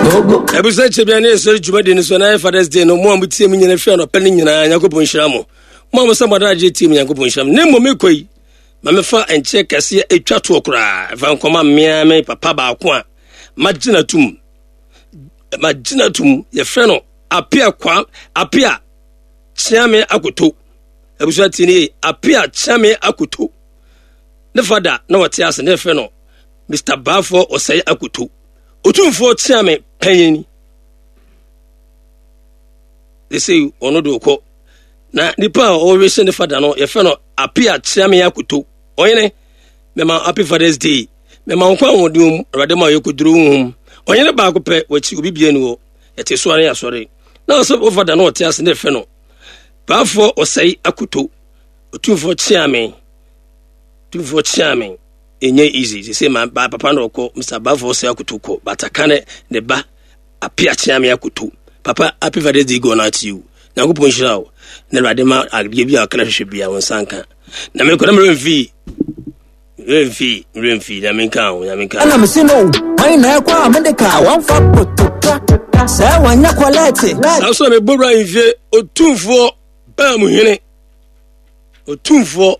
Ɛbusa kyɛ bia ne ɛsɔre dwumadi no so na ayɛ Father's Day no, mo a motie mu nyina firi anɔpɛ no nyinaa, Nyankopɔn nhyira mo. Mo a mo sɛ mo adagye tie mu, Nyankopɔn nhyira mo. Ne mmom mekɔ yi, ma mefa nkyɛ kɛseɛ ɛtwa toɔ koraa, ɛfa nkɔma mmea me papa baako a magyina tum. Magyina tum, yɛfrɛ no Apia Kwa, Apia Kyeame Akoto. Abusua tie ne yie, Apia Kyeame Akoto. Ne fada na wɔte ase ne yɛfrɛ no Mr. Baafoɔ Ɔsɛe Akoto. Otumfoɔ Kyeame panyin. They say ɔno de ɔkɔ. Na nipa a ɔrehwɛ ne fada no yɛfrɛ no Apia Kyeame Akoto. Ɔhene, mɛma happy Father's Day. Mɛma nkwa ahoɔden mu, Awurade ma ɔyɛ koduro honhom. Ɔhene baako pɛ, wɔakyi obi bia ni hɔ. Yɛte so ara yɛasɔre. Na ɔsɛ wo fada no ɔte ase ne yɛfrɛ no Baafoɔ Ɔsɛe Akoto. Otumfoɔ Kyeame. Otumfoɔ Kyeame. Ɛnyɛ easy sese ma ba papa na ɔkɔ Mr. Bafo sɛ akoto kɔ bataka ne ne ba Apia Kyeame akoto papa happy Father's Day gone out to you Nyankopɔn nhyira wo na Awurade ma adeɛ bi a ɔkra hwehwɛ bia wo nsa nka na mekɔ na meremfi meremfi meremfi nyame nka ho nyame nka ɛna mese no wan na ɛkɔ a mede ka wɔmfa potoka sɛ wanyɛ kɔlɛte saa so na mebɔ wura mfie otumfoɔ baa mu hene otumfoɔ.